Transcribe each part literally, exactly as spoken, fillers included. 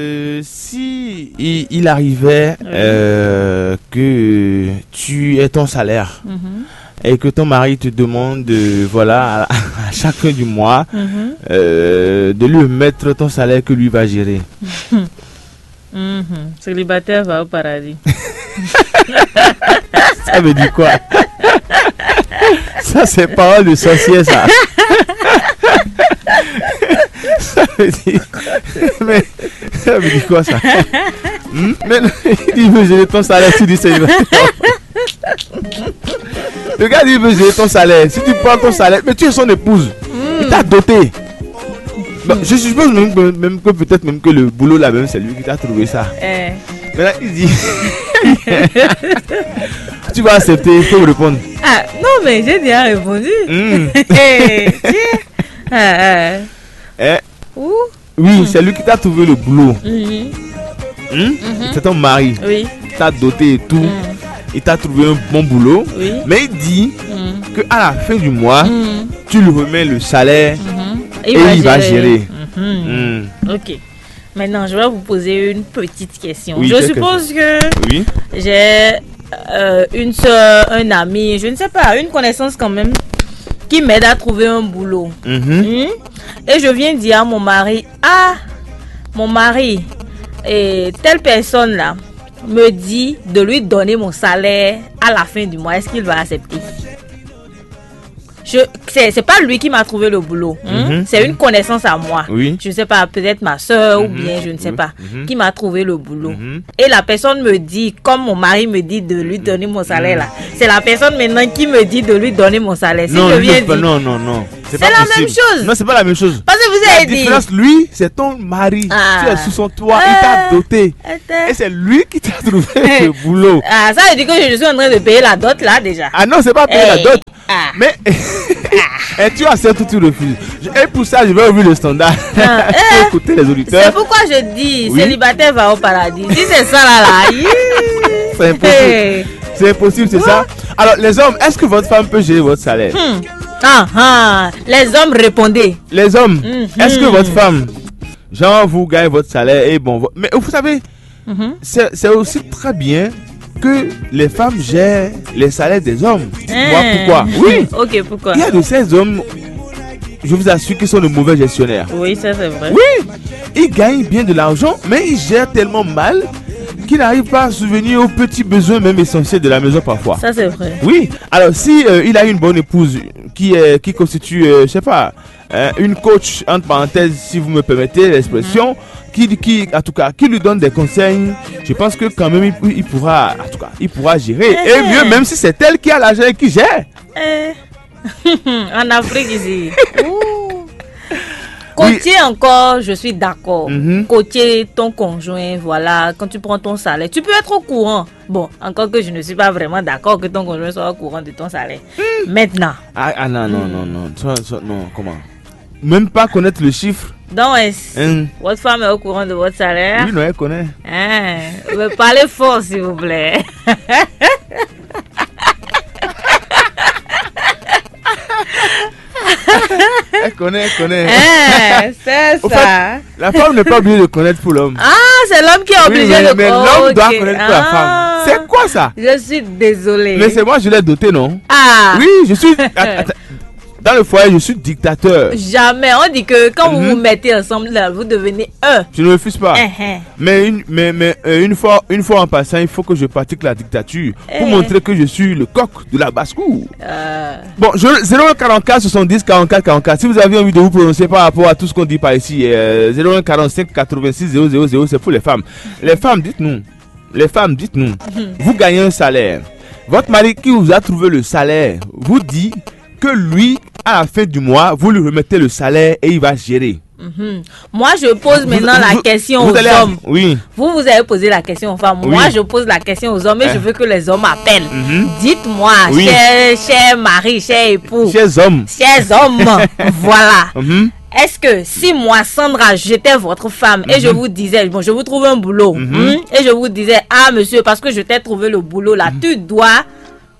Euh, si il, il arrivait euh, que tu aies ton salaire et que ton mari te demande, euh, voilà, à, à chaque fin du mois, euh, de lui mettre ton salaire que lui va gérer. Mhm. Célibataire va au paradis. Ça veut dire quoi? Ça, c'est parole de sorcière, ça. Ça veut dire. Mais ça veut dire quoi, ça? Hmm? Mais non, il dit, il veut gérer ton salaire, tu dis, c'est. Le gars dit, il veut gérer ton salaire. Si tu prends ton salaire, mais tu es son épouse. Il t'a doté. Bon, je suppose même que, même que peut-être même que le boulot là même, c'est lui qui t'a trouvé ça. Eh. Maintenant, il dit, tu vas accepter, il faut me répondre. Ah, non, mais j'ai déjà répondu. Hmm. Eh, tiens. Ah, ah. Eh, Ouh. Oui, c'est lui qui t'a trouvé le boulot. Mhm. Hmm? C'est ton mari. Oui. Il t'a doté et tout. Mm. Il t'a trouvé un bon boulot. Oui. Mais il dit Mm. que à la fin du mois, Mm. tu lui remets le salaire Mhm. et il va gérer. Mhm. Hmm. Ok. Maintenant, je vais vous poser une petite question. Oui, je quelle suppose que Oui. j'ai euh, une soeur, un ami, je ne sais pas, une connaissance quand même, qui m'aide à trouver un boulot. Mhm. Hmm? Et je viens dire à mon mari, ah, mon mari, et telle personne-là me dit de lui donner mon salaire à la fin du mois. Est-ce qu'il va accepter? Je, c'est, c'est pas lui qui m'a trouvé le boulot. Hein? Mhm. C'est une connaissance à moi. Oui. Je ne sais pas, peut-être ma soeur ou Mhm. bien je ne sais Oui. pas, Mhm. Qui m'a trouvé le boulot. Mhm. Et la personne me dit, comme mon mari me dit de lui donner mon salaire là, c'est la personne maintenant qui me dit de lui donner mon salaire. Si Non, je lui, viens c'est pas- dire, non, non, non. C'est la même chose. Non, c'est pas la même chose. Parce que vous La avez dit. Différence, lui, c'est ton mari. Ah. Tu es sous son toit. Il t'a Ah. Doté. Attends. Et c'est lui qui t'a trouvé le boulot. Ah, ça veut dire que je suis en train de payer la dot là déjà. Ah non, c'est pas payer la Eh. Dot. Ah. Mais et tu acceptes ou tu refuses. Je- Et pour ça, je vais ouvrir le standard. Ah, Pour eh. écouter les C'est auditeurs. Pourquoi je dis Oui. Célibataire va au paradis. Si c'est ça là, là, hi. C'est impossible. Hey. C'est impossible, c'est ça. Alors, les hommes, est-ce que votre femme peut gérer votre salaire? Hmm. Ah, ah. Les hommes, répondez. Les hommes, Mhm. Est-ce que votre femme, genre, vous gagnez votre salaire et bon, vo- mais vous savez, Mhm. c'est c'est aussi très bien que les femmes gèrent les salaires des hommes. Dites-moi Hein. Pourquoi? Oui. Ok, pourquoi? Il y a de ces hommes, je vous assure, qui sont de mauvais gestionnaires. Oui, ça c'est vrai. Oui, ils gagnent bien de l'argent, mais ils gèrent tellement mal qu'ils n'arrivent pas à subvenir aux petits besoins même essentiels de la maison parfois. Ça c'est vrai. Oui, alors si euh, il a une bonne épouse qui, est, qui constitue, euh, je sais pas, euh, une coach, entre parenthèses, si vous me permettez l'expression, qui, qui, en tout cas, qui lui donne des conseils, je pense que quand même, il, il pourra, en tout cas, il pourra gérer. Et Mhm. Mieux, même si c'est elle qui a l'argent et qui gère. Eh. En Afrique ici. Ouh. Coacher encore, je suis d'accord. Mhm. Coacher ton conjoint, voilà, quand tu prends ton salaire, tu peux être au courant. Bon, encore que je ne suis pas vraiment d'accord que ton conjoint soit au courant de ton salaire. Maintenant, Ah, ah, non, non, non, non. Ça, ça, non, comment? Même pas connaître le chiffre. Donc, est-ce Hein. Votre femme est au courant de votre salaire? Oui, non, elle connaît. Hein, mais parlez fort, s'il vous plaît. Elle connaît, elle connaît. Hein, c'est Au ça. La femme n'est pas obligée de connaître pour l'homme. Ah, c'est l'homme qui est Oui, obligé mais, de mais l'homme doit Ok. connaître pour la Ah. Femme. C'est quoi ça? Je suis désolée. Mais c'est moi, je l'ai doté, non? Ah. Oui, je suis. Att- att- Dans le foyer, je suis dictateur. Jamais. On dit que quand vous Mhm. vous mettez ensemble, là, vous devenez un. Je ne refuse pas. Uh-huh. Mais, une, mais, mais euh, une, fois, une fois en passant, il faut que je pratique la dictature pour Eh. Montrer que je suis le coq de la basse-cour. Euh, Bon, je, zéro un quarante-quatre soixante-dix quarante-quatre quarante-quatre. Si vous avez envie de vous prononcer par rapport à tout ce qu'on dit par ici, euh, zéro un quarante-cinq quatre-vingt-six zéro zéro zéro, c'est pour les femmes. Les femmes, dites-nous. Les femmes, dites-nous. Vous gagnez un salaire. Votre mari qui vous a trouvé le salaire vous dit que lui, à la fin du mois, vous lui remettez le salaire et il va gérer. mhm. Moi, je pose Vous- maintenant la vous- question vous aux allez à- hommes. Oui. Vous, vous avez posé la question aux femmes. Moi, Oui. Je pose la question aux hommes et Eh. je veux que les hommes appellent. Mhm. Dites-moi, Oui. cher, cher mari, cher époux, Chers hommes, chers hommes, voilà. Mhm. Est-ce que si moi, Sandra, j'étais votre femme et je Mhm. Vous disais, bon, je vous trouve un boulot, Mhm. hmm, et je vous disais, ah monsieur, parce que je t'ai trouvé le boulot là, tu dois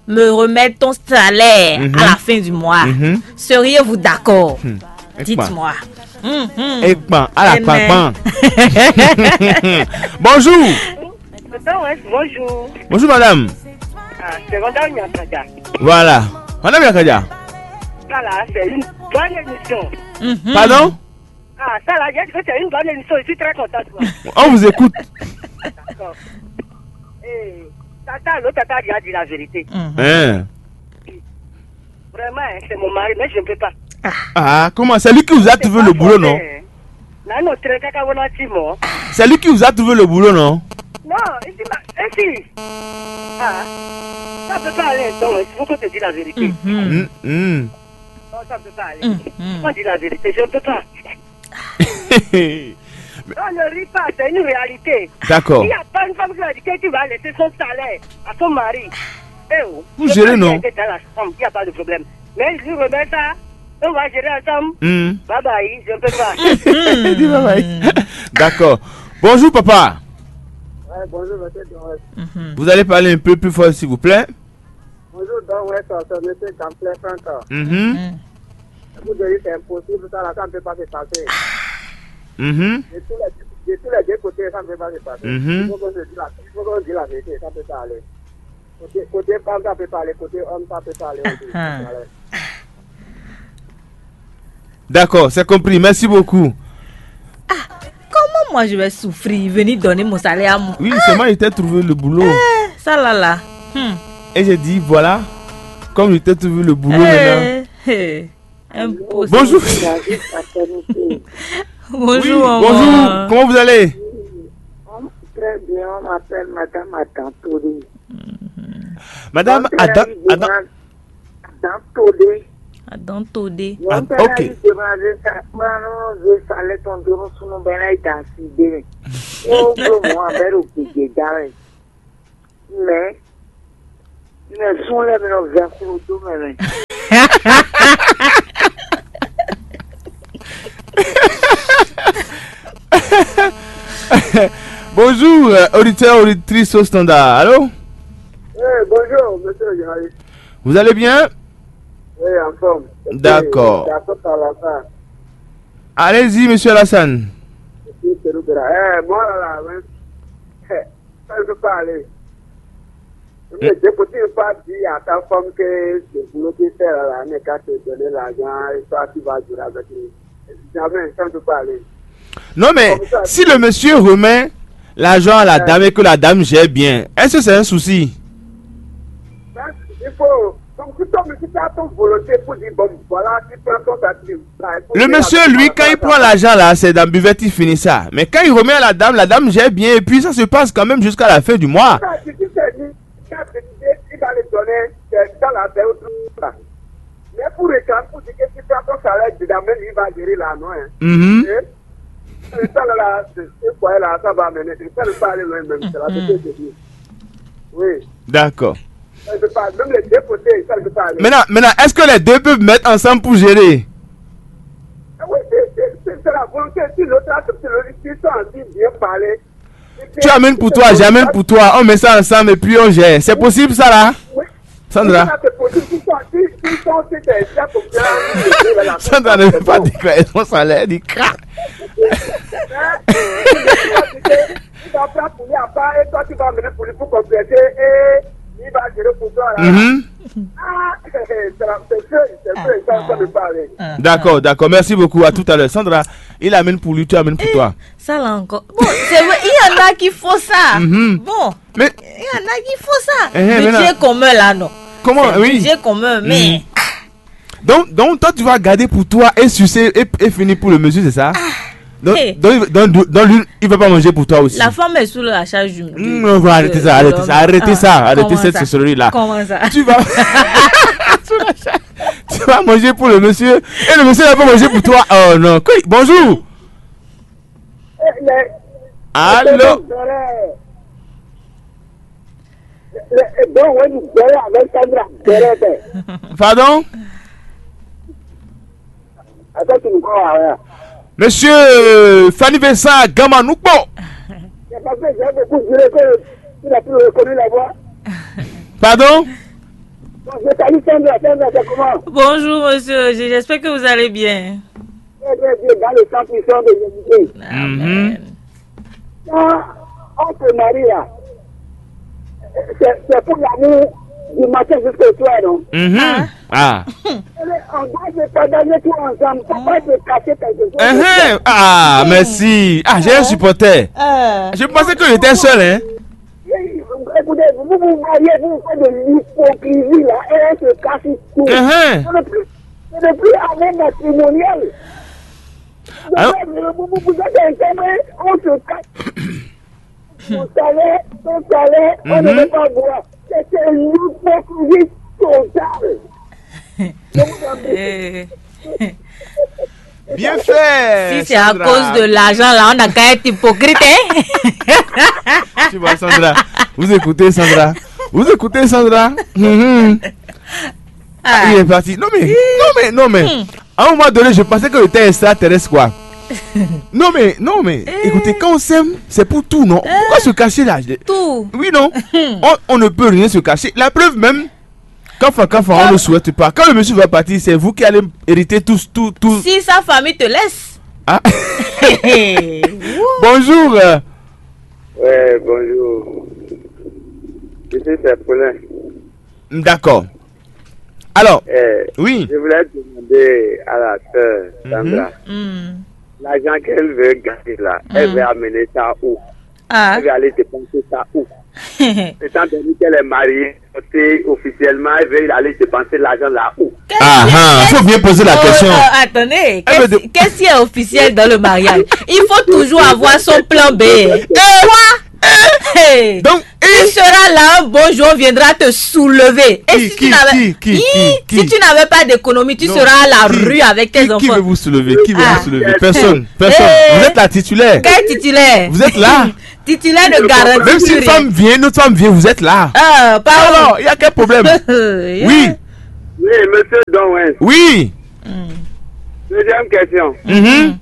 me remettre ton salaire Mhm. À la fin du mois. Mhm. Seriez-vous d'accord? Hmm. Et quoi? Dites-moi. Ekpan, ala kpankpan. Bonjour. Bonjour. Bonjour madame. Ah, c'est Randall Nyakaja. Voilà. Madame Nyakaja. Voilà, c'est une bonne émission. Pardon? Ah, ça là, j'ai dit que c'est une bonne émission. Je suis très content de toi. On vous écoute. D'accord. Eh, tata, l'autre tata, il a dit la vérité. Hein. Vraiment, hein, c'est mon mari, mais je ne peux pas. Ah, comment? C'est lui qui vous a trouvé le boulot, non? Là, non, très caca, voilà, tu vois. C'est lui qui vous a trouvé le boulot, non? Non, il dit, bah, et si? Ah, ça peut pas aller, donc, il faut que tu dis la vérité. Non, ça peut pas aller. Faut dire la vérité, je ne peux pas. Non, ne ris pas, c'est une réalité. D'accord. Il n'y a pas une femme qui va dire que tu vas laisser son salaire à son mari. Eh oh, pour gérer, non? Dans la chambre, il n'y a pas de problème. Mais je lui remets ça, on va gérer ensemble. Bye bye, je ne peux pas. Dis bye bye. D'accord. Bonjour, papa. Ouais, bonjour, monsieur Doré. Vous allez parler un peu plus fort, s'il vous plaît. Bonjour, Don West, c'est monsieur Gamplé Franck. Mhm. Vous devez, c'est impossible, ça, là, ça ne peut pas se passer. Mhm. De tous les, de tous les deux côtés, ça ne peut pas se passer. Mhm. Il faut qu'on se dise la, il faut qu'on dise la vérité, ça ne peut pas aller. Côté, côté femme, ça peut pas aller, côté homme, ça peut pas aller. On dit, ça peut aller. D'accord, c'est compris. Merci beaucoup. Comment moi je vais souffrir, venir donner mon salaire à moi? Oui, seulement il t'a trouvé le boulot. Eh, ça là là. Hmm. Et j'ai dit, voilà, comme il t'a trouvé le boulot maintenant. Eh, eh, impossible. Bonjour. Bonjour, oui, bonjour. Comment vous allez? Très bien, on m'appelle Madame Adam Toli. Madame Adam, Adam. Adam Todé. Adam Todé. Ah, ok. Mɛ, mɛ sún lɛ́ɛ mi nɔ vɛ́ xlodó mɛ mɛ. Bonjour, euh, auditeur, auditrice au standard. Allô? Eh, bonjour, monsieur le journaliste. Vous allez bien? Oui, en forme. D'accord. D'accord, ça va, ça. Allez-y, monsieur Alassane. Monsieur Terubera. Eh, moi, là, là, hein. Eh, ça, je peux pas aller. Mais je peux pas dire à ta femme que le boulot qu'il fait là, là, n'est qu'à te donner l'argent et toi, tu vas durer avec lui. Jamais, ça, je peux pas aller. Non, mais si le monsieur remet l'argent à la dame et que la dame gère bien, est-ce que c'est un souci? Ben, il faut. Donc, si toi, si tu as ton volonté pour dire, bon, voilà, tu prends ton sacrifice. Le monsieur, lui, quand il prend l'argent là, c'est dans buvette, il finit ça. Mais quand il remet à la dame, la dame gère bien et puis ça se passe quand même jusqu'à la fin du mois. Ça, c'est dit, c'est dit, ça, c'est dit, il va le donner, c'est dans la période là. Mais pour réclamer, pour dire que si tu prends ton salaire dedans, même il va gérer là, non, hein. Mhm. Et, et ça, là, là, c'est, c'est quoi, là, ça va amener, ça ne peut pas aller loin, même, c'est la vérité de Dieu. Oui. D'accord. Ça ne peut pas, même les deux côtés, ça ne peut pas aller. Maintenant, maintenant, est-ce que les deux peuvent mettre ensemble pour gérer? Ah oui, c'est, c'est, c'est, c'est la volonté. Si l'autre accepte, le, si ils sont en train de bien parler, et puis, tu amènes pour toi, j'amène pour toi, on met ça ensemble et puis on gère. C'est possible ça là? Oui. Sandra. Oui, ça, c'est possible. S'ils sont, si, s'ils sont, si c'est, c'est comme ça, Sandra ne veut pas déclarer son salaire, elle dit crac. Hein? Il va prendre pour lui à part et toi, tu vas amener pour lui pour compléter et il va gérer pour toi là. Mhm. Ah, c'est, c'est, c'est feu, c'est feu, ça, ça me parle. D'accord, d'accord. Merci beaucoup. À tout à l'heure. Sandra, il amène pour lui, tu amènes pour toi. Ça là encore. Bon, c'est vrai, il y en a qui font ça. Mhm. Bon, mais il y en a qui font ça. Eh, eh, mais budget là, commun là, non. Comment? C'est oui. Budget commun, mais. Mhm. Donc, donc toi, tu vas garder pour toi et sucer et, et finir pour le monsieur, c'est ça? Donc, hey. Donc, donc, donc, donc, lui, il va pas manger pour toi aussi. La femme est sous la charge du, du, mm, on va arrêter de, ça, de arrêter ça, arrêter ça, ah, arrêter cette sorcellerie-là. Comment ça? Tu vas, tu vas manger pour le monsieur et le monsieur va pas manger pour toi. Oh non. Bonjour. Allô? Pardon? Monsieur Fanny Vincent Gama Nukpo. Pardon? Bonjour, monsieur. J'espère que vous allez bien. Frère Dieu dans le sang puissant de Jésus-Christ. Amen. Quand on se marie là, c'est c'est pour l'amour du matin jusqu'au soir, non? Mhm. Ah. On doit se partager tout ensemble. Faut pas se cacher quelque chose. Ah, merci. Ah, j'ai un supporter. Je pensais que j'étais seul, hein. Écoutez, vous vous mariez, vous faites de l'hypocrisie là, et on se cache tout. Ce n'est plus, ce n'est plus amour matrimonial. Vous, vous, vous êtes ensemble, on se cache. Vous savez, vous savez, on ne veut pas voir. C'est une hypocrisie totale. Bien fait. Si c'est à cause de l'argent là, on a qu'à être hypocrite, hein? Tu vois, Sandra, vous écoutez Sandra. Vous écoutez Sandra. Mhm. Ah, il est parti. Non mais, non mais, non mais. À un moment donné, je pensais que j'étais extraterrestre, quoi. Non mais, non mais, écoutez, quand on s'aime, c'est pour tout, non? Pourquoi se cacher là? Tout. Oui, non. On, on ne peut rien se cacher. La preuve même, quand, enfin, quand, enfin, on ne souhaite pas. Quand le monsieur va partir, c'est vous qui allez hériter tout, tout, tout. Si sa famille te laisse. Ah. Bonjour. euh, Ouais, bonjour. Ici, c'est Paulin. D'accord. Alors, Eh, oui. Je voulais demander à la sœur Sandra, Hmm. l'argent qu'elle veut gagner là, elle veut amener ça où? Ah. Elle veut aller dépenser ça où? Étant donné qu'elle est mariée, c'est officiellement, elle veut aller dépenser l'argent là où? Ah, ah, faut bien poser la Oh, question. oh, attendez, Elle veut qu'est-ce qu'est-ce qui est officiel dans le mariage? Il faut toujours avoir son plan B. Quoi? Hey. Donc, Tu et seras là un beau jour, on viendra te soulever. Et Qui, si qui, tu n'avais qui, qui, Hi, qui, si qui tu n'avais pas d'économie, tu Non, seras à la qui- rue avec tes qui, qui veut enfants. Vous soulever? Qui veut Ah. Vous soulever? Personne, personne. Eh. Vous êtes la titulaire. Quel titulaire? Vous êtes là. Titulaire ne garantit Même si plus une rien. Femme vient, une autre femme vient, vous êtes là. Ah, pardon. Alors, il y a quel problème? Euh, Oui, Oui, monsieur Donwens. Oui. Deuxième question. Mhm.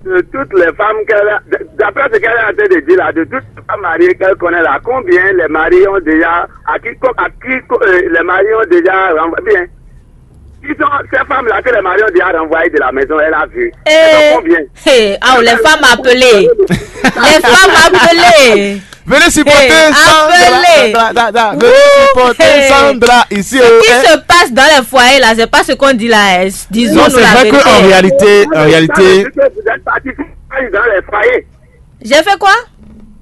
De toutes les femmes qu'elle a, d'après ce qu'elle est en train de dire là, de toutes les femmes mariées qu'elle connaît là, combien les maris ont déjà, à qui, à qui euh, les maris ont déjà renvoyé bien? Qui sont ces femmes-là que les maris ont déjà renvoyées de la maison? Elle a vu. Elles sont Eh, combien? Hey, oh, les femmes appelées. Les femmes appelées. Venez supporter Hey, Sandra. appelez. Da, da, da. Venez Ouh, supporter hey. Sandra ici. Ce Oh, qui hein. Se passe dans les foyers là, c'est pas ce qu'on dit là. Hein. Disons Non, nous c'est la vrai vérité. Qu'en réalité, en Ça veut réalité, dire que vous êtes parti dans les foyers. J'ai fait quoi?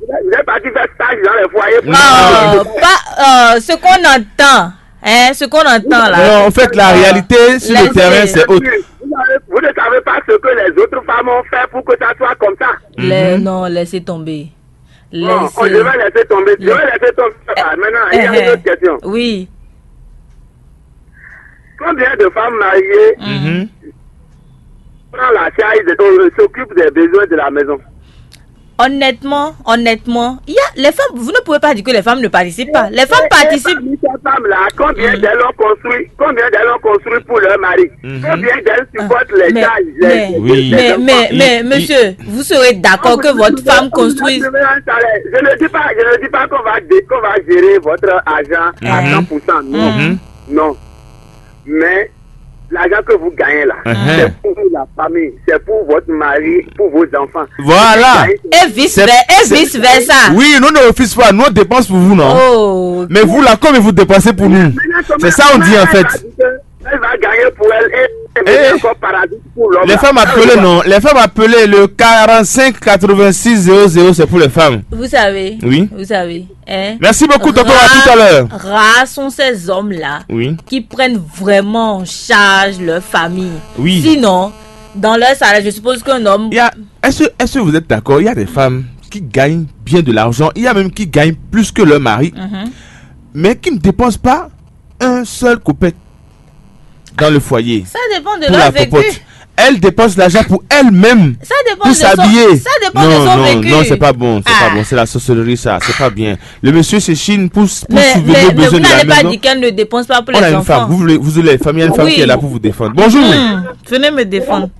Vous êtes parti faire stage dans les foyers. Euh, pas euh, ce qu'on entend. Hein, ce qu'on entend là. Non, en fait, la réalité sur le Laissez. Terrain, c'est autre. Vous, avez- vous ne savez pas ce que les autres femmes ont fait pour que ça soit comme ça. Les- Non, laissez tomber. Bon, Laissez. Je vais laisser tomber. Je vais laisser tomber ça. Maintenant, il y a une autre question. Oui. Combien de femmes mariées Mhm. prennent la charge, de- euh, s'occupent des besoins de la maison? Honnêtement, honnêtement, il y a les femmes, vous ne pouvez pas dire que les femmes ne participent pas. Les femmes participent. Parmi ces femmes-là, combien d'elles ont construit, combien d'elles ont construit pour leur mari? Combien d'elles supportent les Mais, charges, les- mais, Oui. mais, enfants? mais, mais, Il- monsieur, vous serez d'accord que votre femme construit. Je ne dis pas, je ne dis pas qu'on va, dé- qu'on va gérer votre argent à cent pour cent. Non. Non. Mais l'argent que vous gagnez là, Uh-huh. c'est pour la famille, c'est pour votre mari, pour vos enfants. Voilà. Et vice versa. Et vice versa. Oui, nous ne refusons pas, nous on dépense pour vous, non? Oh. Mais vous là, comme vous dépensez pour nous, c'est ça on dit en fait. Elle va gagner pour elle et elle est encore paradis pour l'homme. Les femmes appelées, non. Les femmes appelées le quarante-cinq quatre-vingt-six zéro zéro, c'est pour les femmes. Vous savez. Oui. Vous savez. Hein? Merci beaucoup, tonton, à tout à l'heure. Rares sont ces hommes-là Oui. Qui prennent vraiment en charge leur famille. Oui. Sinon, dans leur salaire, je suppose qu'un homme. Il y a, est-ce, est-ce que vous êtes d'accord? Il y a des femmes qui gagnent bien de l'argent. Il y a même qui gagnent plus que leur mari. Mais qui ne dépensent pas un seul kopek dans le foyer. Ça dépend de Pour leur la vécu. Popote. Elle dépense l'argent pour elle-même. Ça dépend Pour de son, s'habiller. Ça dépend Non, de son non, vécu. Non, c'est pas bon, c'est Ah. Pas bon, c'est la sorcellerie ça, c'est pas bien. Le monsieur se chine pour, pour Mais, subvenir mais, aux mais besoins vous de la n'allez pas maison. Dire qu'elle ne dépense pas pour On les a une enfants. Femme, vous voulez, vous voulez les femmes, il y a une femme Oui. Qui est là pour vous défendre. Bonjour. Hmm, venez me défendre.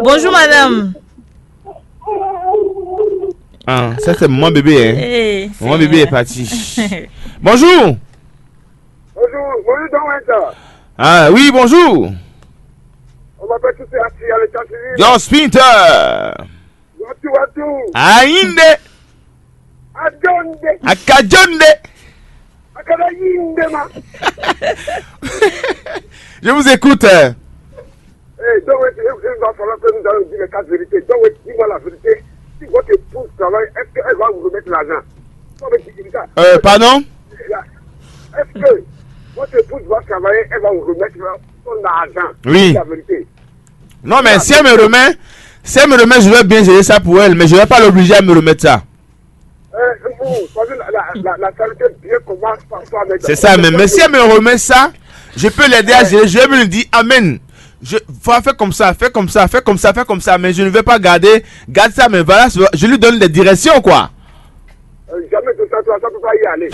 Bonjour madame. Ah, ça c'est mon bébé, hein. Hey, Mon bébé est parti. Bonjour. Bonjour, bonjour, Don Winter. Ah oui, bonjour. Comment Papa, tu sais, assis à l'état civil. Yo, Spinter. Watu, watu. Ainde. Adonde. Akadjonde. Akadayinde, ma. Je vous écoute. Eh, donc, il, il va falloir que nous allons dire les quatre vérités. Donc, dis-moi la vérité. Si votre épouse travaille, est-ce qu'elle va vous remettre l'argent? Faut me dire ça. Euh, pardon? Est-ce que votre épouse va travailler, elle va vous remettre son argent? Oui. La vérité. Non, mais si elle me remet, si elle me remet, je vais bien gérer ça pour elle, mais je vais pas l'obliger à me remettre ça. Euh, vous, parce que la, la, la, la charité bien commence par soi-même. C'est ça, mais, mais si elle me remet ça, je peux l'aider à gérer. Je vais lui dire, Amen. Je, faut faire comme ça, fais comme ça, fais comme ça, fais comme ça, mais je ne vais pas garder, garde ça, mais voilà, je lui donne des directions, quoi. Euh, jamais de ça, ça, ça peut pas y aller.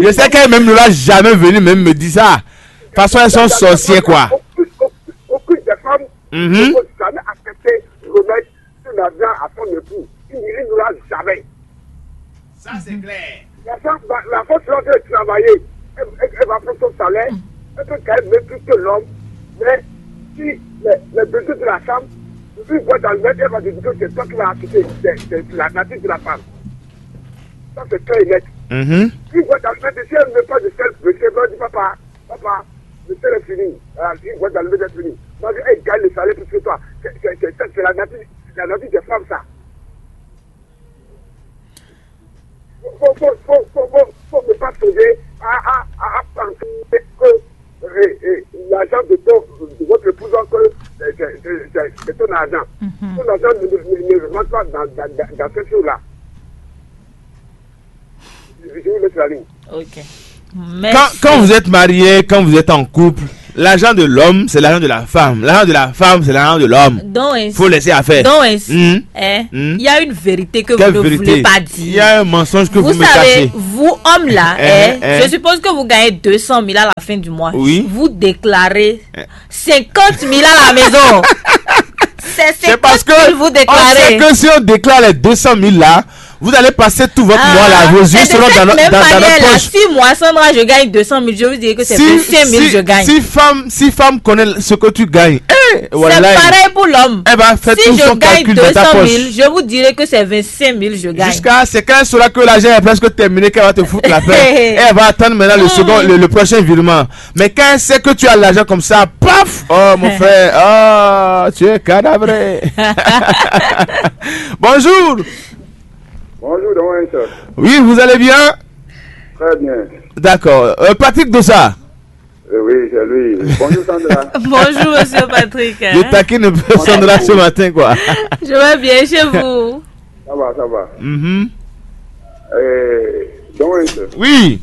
Je sais qu'elle même ne va jamais venir même me dire ça. De toute façon, elles sont sorcières, quoi. Aucune, aucune, aucune des femmes ne peut jamais accepter remettre son argent à son époux. Il ne reviendra jamais. Ça, c'est clair. La femme, va- la femme sera en train de travailler. Elle, elle- elle va prendre son salaire. Elle peut gagner même plus que l'homme. Mais si les, les besoins de la femme, une boîte d'allumettes, elle va dire que c'est toi qui vas acheter. C'est c'est la nature de la femme. Ça, c'est clair et net. Mhm. Une boîte d'allumettes, si elle ne met pas de sel, monsieur va dire, papa, papa, le sel est fini. Voilà, une boîte d'allumettes est finie. Donc, elle gagne le salaire plus que toi. C'est c'est- c'est- c'est la nature, la nature des femmes, ça. Faut, faut, faut, faut, faut, faut ne pas songer à, à, à, à penser que euh, euh, l'argent de, ton, de votre épouse, que euh, c'est c'est- c'est- c'est ton argent. Ton argent ne, ne, ne, ne rentre pas dans, dans, dans, dans cette chose-là. Je vous laisse la ligne. Ok. Quand, quand vous êtes marié, quand vous êtes en couple, l'argent de l'homme, c'est l'argent de la femme. L'argent de la femme, c'est l'argent de l'homme. Donc, faut laisser à faire. Donc, il y a une vérité que vous ne voulez pas dire. Il y a un mensonge que vous, vous me savez, cachez. Vous, homme là, je suppose que vous gagnez deux cent mille à la fin du mois. Oui. Vous déclarez cinquante mille à la maison. C'est parce que vous déclarez. On sait que si on déclare les deux cent mille là, vous allez passer tout votre mois là, vos yeux seront dans, dans, dans notre poche. Si moi, Sandra, je gagne deux cent mille, je vous dirais que c'est si, vingt-cinq mille si, je gagne. Si femme, si femme connaît ce que tu gagnes, eh, c'est pareil pour l'homme. Elle va faire si tout son calcul dans ta poche. Si je gagne deux cent mille, je vous dirais que c'est vingt-cinq mille je gagne. Jusqu'à, c'est quand elle saura que l'argent est presque terminé qu'elle va te foutre la paix. Et elle va attendre maintenant le second, le, le prochain virement. Mais quand elle sait que tu as l'argent comme ça, paf, oh mon frère, oh, tu es cadavré. Bonjour. Bonjour, Don Winston. Oui, vous allez bien? Très bien. D'accord. Euh, Patrick Dossa. Euh, oui, c'est lui. Bonjour, Sandra. Bonjour, monsieur Patrick. Je taquine un peu Sandra ce matin, quoi. Je vais bien chez vous. Ça va, ça va. Mhm. Euh, Don Winston. Oui.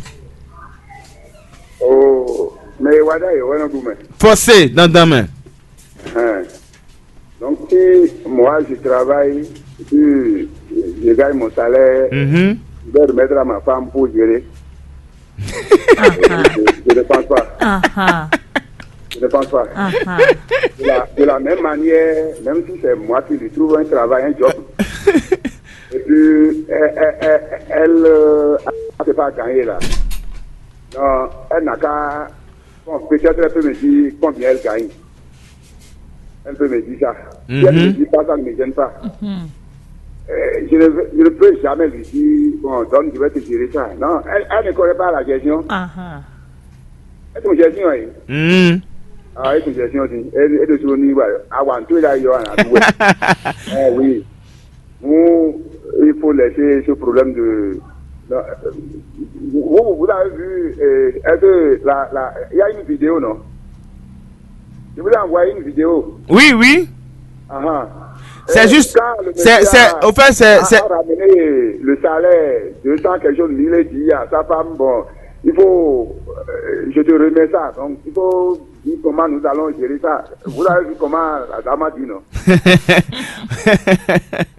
Oh, mais Wada, il y a un argument. Forcé dans ta main. Hein. Donc, si moi, je travaille, si je gagne mon salaire, mhm, je vais remettre à ma femme pour gérer. Je, je ne pense pas. Je ne pense pas. De la, de la même manière, même si c'est moi qui lui trouve un travail, un job, et puis elle, elle, elle, elle, euh, elle ne peut pas gagner là. Non, elle n'a qu'à, bon, peut-être elle peut me dire combien elle gagne. Elle peut me dire ça. Si elle ne me dit pas, ça ne me gêne pas. Euh, je, ne, veux- je ne peux jamais lui dire, bon, donne, je vais te gérer ça. Non, elle, elle ne connaît pas la gestion. Ɛ tun jɛ sin wɛ. Mm. Ah, ɛ tun jɛ sin ɔ sin. E e ɖo so ni wa awa n to e la yɔ ana du wɛ. Eh oui. Nous, il faut laisser ce problème de. Non, euh, vous, vous avez vu, euh, est-ce que la, la, il y a une vidéo, non? Je vous ai envoyé une vidéo. Oui, oui. Ah, ah. C'est juste. C'est, c'est, au fait, c'est, a, c'est a ramené le salaire, deux cents quelque chose, mille et dit à sa femme, bon, il faut, euh, je te remets ça. Donc, il faut dire comment nous allons gérer ça. Vous avez vu comment la dame a dit, non?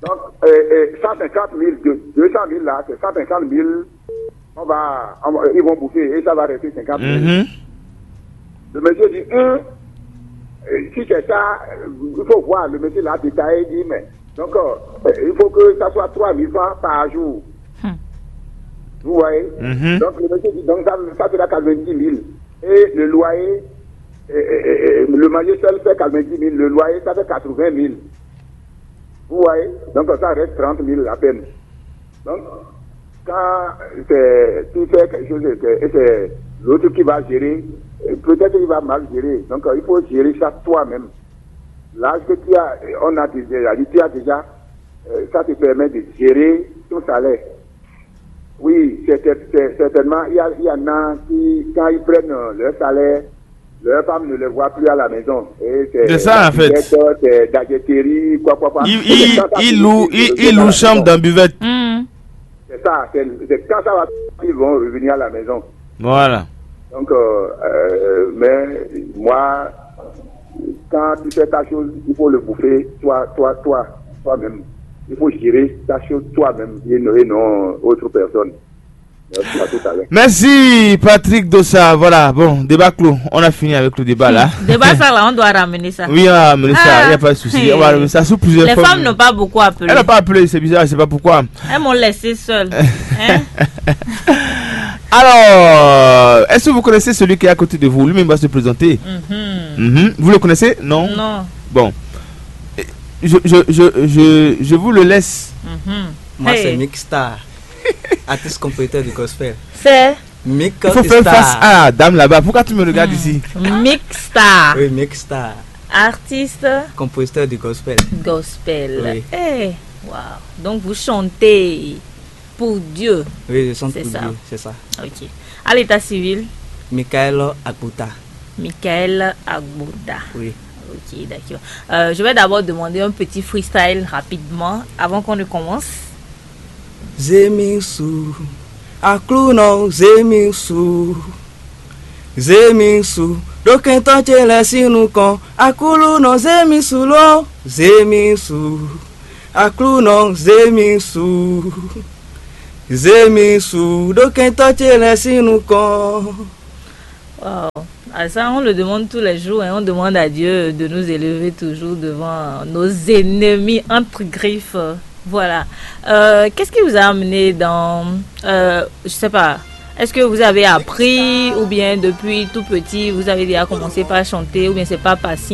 Donc, euh, euh, cent cinquante mille, de- deux cent mille là, c'est cent cinquante mille. On va, on va- ils vont bouffer et ça va rester cinquante mille. Mhm. Le monsieur dit, hum, euh, si c'est ça, euh, il faut voir. Le monsieur l'a détaillé, il dit, mais donc, euh, il faut que ça soit trois mille francs par jour. Vous voyez? Mhm. Donc, le monsieur dit, donc ça, ça sera quatre-vingt-dix mille. Et le loyer, Et, et, et, et le manger seul fait quatre-vingt-dix mille, le loyer, ça fait quatre-vingt mille. Vous voyez? Donc, ça reste trente mille à peine. Donc, quand c'est, tu fais quelque chose et c'est, et c'est l'autre qui va gérer, euh, peut-être il va mal gérer. Donc, euh, il faut gérer ça toi-même. L'âge que tu as, on a déjà, tu as déjà, euh, ça te permet de gérer ton salaire. Oui, c'est, c'est, c'est certainement, il y a, il y en a qui, quand ils prennent euh, leur salaire, leur femme ne les voit plus à la maison. Et c'est C'est ça, en fait. C'est d'adjetterie, quoi, quoi, quoi. Il, Et c'est il, quand ça il finit loue, que il, je il viens à loue la chambre maison. Dans buvette. Hmm. C'est ça, c'est c'est quand ça va, ils vont revenir à la maison. Voilà. Donc, euh, euh, mais moi, quand tu fais ta chose, il faut le bouffer, toi, toi, toi, toi-même. Il faut gérer ta chose toi-même et non, et non autre personne. Merci à tout à l'heure. Merci Patrick Dossa. Voilà, bon, débat clos. On a fini avec le débat là. Débat ça là, on doit ramener ça. Oui, ah, mais ça, il Ah. n'y a pas de souci. On va ramener ça sous plusieurs Les formes. Femmes n'ont pas beaucoup appelé. Elle n'a pas appelé, c'est bizarre, je sais pas pourquoi. Elles m'ont laissé seule. Hein? Alors, est-ce que vous connaissez celui qui est à côté de vous? Lui-même va se présenter. Mhm. Mhm. Vous le connaissez? Non? Non. Bon. Je, je, je, je, je vous le laisse. Mhm. Moi, Hey. C'est Mick Star, artiste compositeur du gospel. C'est Mick Il faut faire Star. Face à la dame là-bas. Pourquoi tu me regardes ici? Mick Star, Oui, Mick Star, artiste compositeur du gospel. Gospel. Oui. Eh, wow. Donc vous chantez pour Dieu. Oui, je chante C'est pour ça. Dieu, c'est ça. Ok. À l'état civil, Michael Akbuta. Michael Agbuta. Oui. Ok, d'accord. Euh, je vais d'abord demander un petit freestyle rapidement avant qu'on ne commence. Zemisu, Aklunɔ Zemisu, Zemisu, ɖokɛntɔ ce lɛ sín nukɔn. Aklunɔ Zemisu lo, Zemisu, Aklunɔ Zemisu, Zemisu, ɖokɛntɔ ce lɛ sín nukɔn. Wow. Ah, ça, on le demande tous les jours, hein. On demande à Dieu de nous élever toujours devant nos ennemis entre griffes. Voilà. Euh, qu'est-ce qui vous a amené dans, euh, je sais pas, est-ce que vous avez appris ou bien depuis tout petit, vous avez déjà commencé par chanter ou bien c'est par passion?